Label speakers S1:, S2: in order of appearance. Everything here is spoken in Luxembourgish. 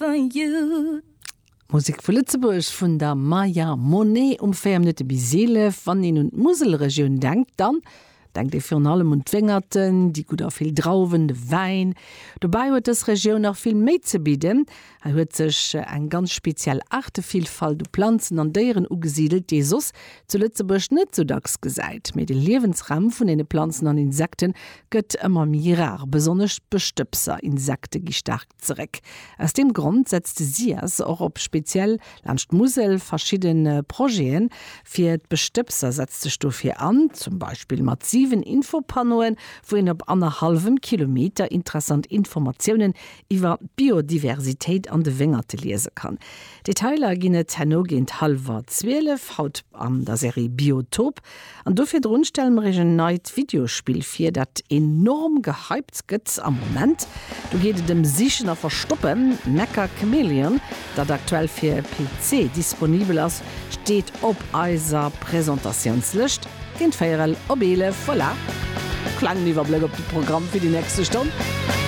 S1: For you.
S2: Musek vu Lëtzebuerg vun der Maya Monet um 4 Minutte bis 11. Wann een un d'Muselregioun denkt, dann denkt ee virun allem un d'Wéngerten, déi gutt a vill Drauwen, de Wäin. Dobäi huet dës Regioun nach vill méi ze bidden. Hei huet sech eng ganz speziell Aartevillfalt u Planzen an Déieren ugesidelt, déi ee soss zu Lëtzebuerg net sou dacks gesäit. Mee de Liewensraum vun deene Planzen an Insekte gëtt ëmmer méi rar. Besonnesch d'Bestëbser, Insekte gi staark Zeréck. Aus deem Grond setzt de SIAS och op speziell laanscht d'Musel verschidde Projeten fir d'Bestëbser, setzt sech dofir an, zum Beispill mat 7 Infopannoen, wou een op annerhallwem Kilometer interessant Informatiounen iwwer d'Biodiversitéit an de Wéngerte liese kann. Detailer ginn et herno géint hallwer 12, haut an der Serie Biotop. An do virdrun stelle mer iech en neit Videospill vir, dat enorm gehypt gëtt am Moment. Do geet et ëm Sichen a Verstoppen. Mecca Chameleon, dat aktuell fir PC disponibel ass, steet op eiser Presentatiounslëscht géint véierel op 11. Voilà, klengen Iwwerbléck op de Programm fir déi nächste Stonn.